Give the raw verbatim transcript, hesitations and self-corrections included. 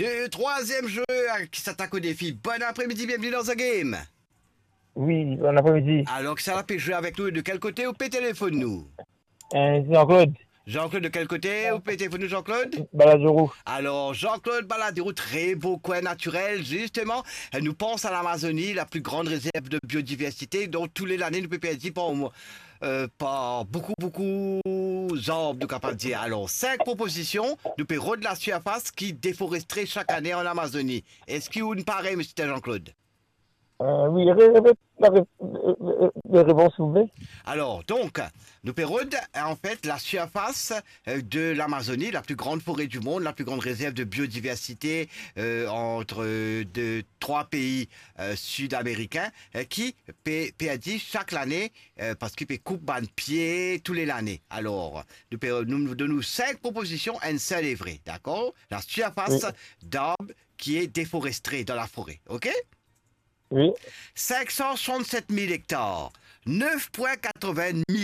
de, troisième joueur qui s'attaque au défi. Bon après-midi, bienvenue dans The Game. Oui, bon après-midi. Alors, qui ça la peut jouer avec nous et de quel côté ou peut téléphoner nous? Euh, Jean-Claude, Jean-Claude, de quel côté ou peut téléphoner nous, Jean-Claude? Baladurou. Alors, Jean-Claude Baladurou, très beau coin naturel, justement. Euh, Nous pense à l'Amazonie, la plus grande réserve de biodiversité, dont tous les années, nous peut perdre par, euh, par beaucoup, beaucoup d'arbres, nous capables de dire. Alors, cinq propositions, nous peut rod la surface qui déforesterait chaque année en Amazonie. Est-ce qu'il y a une pareille, monsieur Jean-Claude? Euh, oui, ré- répète la ré- euh, euh, les réponses, s'il vous plaît. Alors, donc, nous peut rod, en fait, la surface euh, de l'Amazonie, la plus grande forêt du monde, la plus grande réserve de biodiversité euh, entre euh, de trois pays euh, sud-américains, euh, qui pe- perdit chaque année, euh, parce qu'il peut couper un pied tous les années. Alors, nous, pe- nous, nous donnons cinq propositions, une seule est vraie, d'accord? La surface Oui. d'arbres qui est déforestée dans la forêt, ok? Oui. Cinq cent soixante-sept mille hectares, neuf virgule quatre-vingts mille